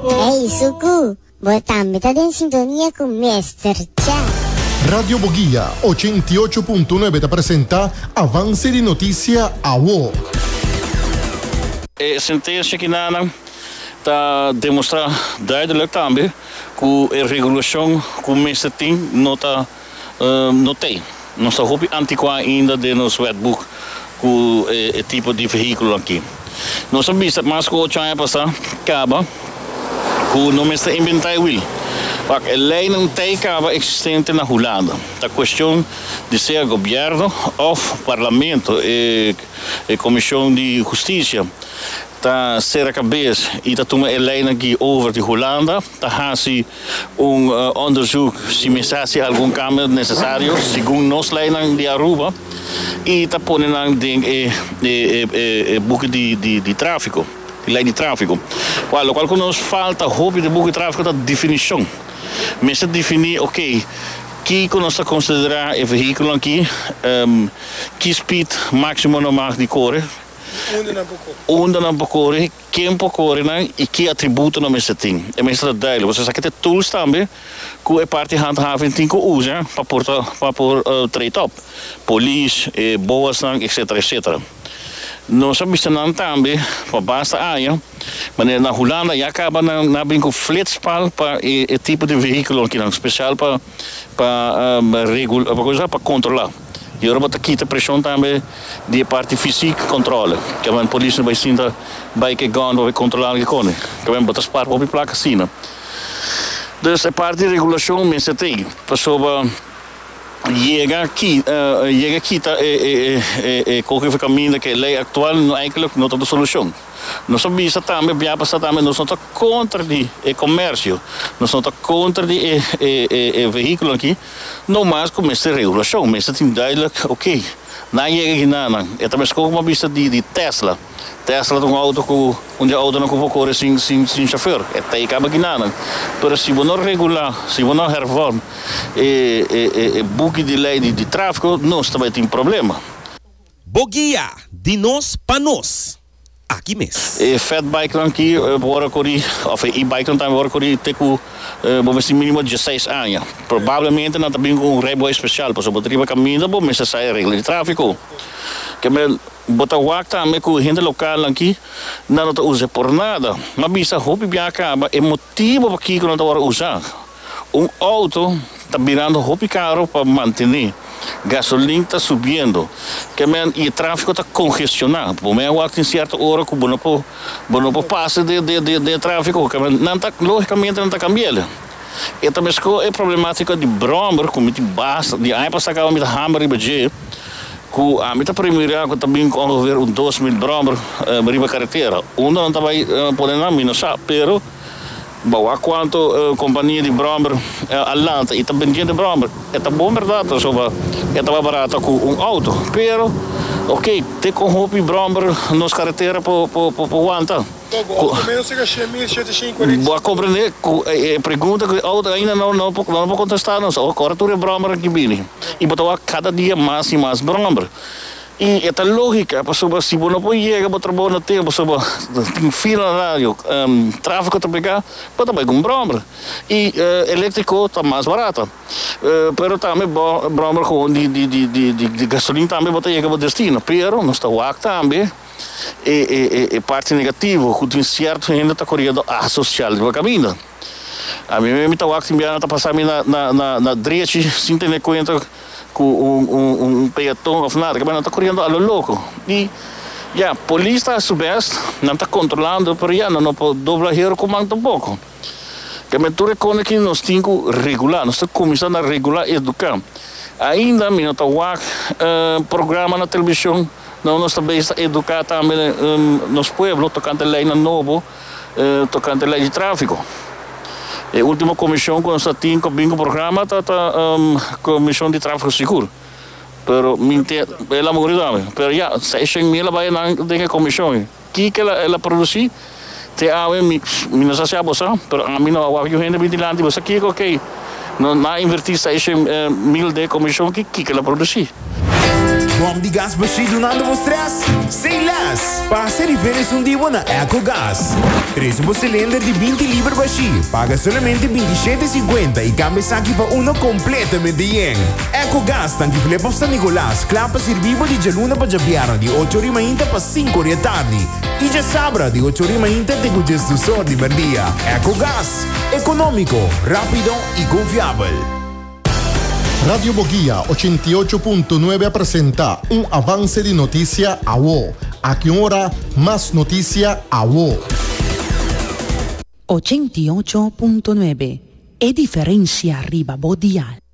Hey Suku, bo tambe ta den sintonia ku Mester Cha. Radio Boguia 88.9 ta presenta Avance di Noticia Awo. E sentencia kinanan ta demostra duidelijk tambe cu e regulacion cu mester tin no ta no tey. Nos ta hopi anticua ainda den nos wetboek cu e tipo di vehiculo aki. Nos a bisa mas cu ocho aña pasa caba cu no mester inventa e wiel. Wak, e leynan tey caba existente na Hulanda. Ta cuestion di sea gobierno of parlamento, e comision di husticia ta cera cabes y ta tuma e leynan aki over di Hulanda, ta haci un onderzoek si mester haci algun cambio necesario segun nos leynan di Aruba y ta pone nan den e e buki di trafico, di ley di trafico. Cual locual cu nos falta hopi den buki di trafico ta definicion. Mester defini ok kico nos ta considera e vehiculo aki, ki speed maximo nan mag di core, unda nan por core. Ken por kore nan i ki atributonan mester tin? E mester ta duidelijk. Pasobra esaki ta e tools tambe ku e parti handhaving tin ku usa pa por ta pa por treed op. Polis, e boasnan, etcetera, etcetera. Nos a bisa nan tambe pa basta aña, manera na Hulanda ya kaba nan a bin ku flitspaal pa e e tipo di vehíkulo akinan, spesial pa pa regula pa cosa pa kontrolá. I ora bo ta kita preshon tambe di e parti fysiek kontrole. Kiamen polis no bai sinta bai ke gun pa bai kontrolá algu kone. Kiamen bo ta spar hopi plaka asina. Dus e parti di regulashon mester ta ei pasobra yega ki yega kita e e e e koke for kaminda ke lei aktual no eigenlijk no ta de solushon. Nos a bisa tambe bia pasá tambe nos no ta kontra di e komersio, nos no ta kontra di e e e vehíkulo aki. No mas cu mester regulacion, mester tin duidelijk, ok, nan yega hinanan, e ta mesco como a bisa di di Tesla, Tesla ta un auto cu un di autonan cu por core sin sin sin chofer, e ta e caba hinanan, pero si bo no regula, si bo no hervorm e e e buki di ley di di trafico, nos ta bay tin problema. Bo guia di nos pa nos. aki mes. E fat bikenan aki bo wòrdu kori òf e e-bikenan tambe wòrdu kori te ku bo mester minimo dieseis aña. Probablemente nan ta bin ku un rijbewijs spesial pasobra bo ta riba kaminda bo mester sa e regla di tráfiko. Ke men bo ta wak tambe ku hende lokalnan aki nan no ta usa por nada. M'a bisa hopi biaha kaba e motibu pakiko nan ta wòrdu usa. Un auto ta birando hopi caro pa mantene, gasolin ta subiendo, ke men y e trafico ta congestiona. Bo men a wak tin cierto ora cu bo no por bo no por pasa den den den e trafico, ke men nan ta logicamente nan ta cambiele. E ta mesco e problematica di brommer cu mi tin basta di aña pasa caba mi ta hamber riba dje cu ami ta premira cu ta bin cu ongeveer un 2000 brommer riba caretera. Unda nan ta bay pone nan mi no sa, pero. Bo wak kuantu kompania di bròmber a lanta i ta bendiendo bròmber. E ta bon bèrdat pasobra e ta mas barata ku un outo. Pero, oke, te kon hopi bròmber nos karetera por por wanta? Bo a komprendé ku e pregunta ku e outo ainda no no por kontestá nos. Ora tur e bròmbernan ki bini i bo ta wak kada dia mas i mas bròmber. I e ta lógika, pasobra si bo no por yega bo trabou na tempu pasobra tin fila na radio, tráfiko ta pegá, bo ta bai ku un bròmber. I eléktriko ta mas barata. Pero tambe bo bròmber gewoon di di di di di gasolin tambe bo ta yega bo destino. Pero nos ta wak tambe e e e parti negativo ku tin sierto hende ta koriendo asosial riba kaminda. Ami mi ta wak tin biaha ta pasa mi na na na drechi sin tene kuenta. Ku un peaton of nada, nan ta koriendo a lo loko. I ya, polis ta hasi su best, nan ta kontrolando, pero ya, nan no por dobla hero ku man tampoko. Keme tur e kos aki nos tin ku regulá, nos ta kuminsá na regulá eduká. Ainda mi no ta wak programa na televishon, no nos ta bezig ta eduká tambe nos pueblo tokante leinan nobo. Tokante lei di tráfiko. E último komishon ku nos a tin ku a bin ku programa ta ta Komishon di Tráfiko Sigur. Pero mi te el a muri tambe. Pero ya, seishen mil a bai nan den e komishon. Kiko el a el a produsí? Te awe mi mi no sa si abo sa, pero ami no a wak yu hende bin dilanti bo sa kiko okey. No nan a invertí seishen mil den e komishon ki kiko el a produsí? Bòm di gas bashí dunando bo strès? Say less! Pasa riba esun di bo na Ecogas. Trese bo silinder di 20 liber bashí, paga solamente 27,50 i kambia esaki pa uno kompletamente yen. Ecogas tanki Flip of San Nicolas, kla pa sirbi bo di djaluna pa djabièrnè di ocho ori mainta pa sinku ori atardi i djasabra di ocho ori mainta te ku djesdus or di merdia. Ecogas, ekonómiko, rápido i konfiabel. Radio Boguia 88.9 a presenta un avance di noticia awo. Aki un ora, mas noticia awo. 88.9 E diferencia riba bo dial.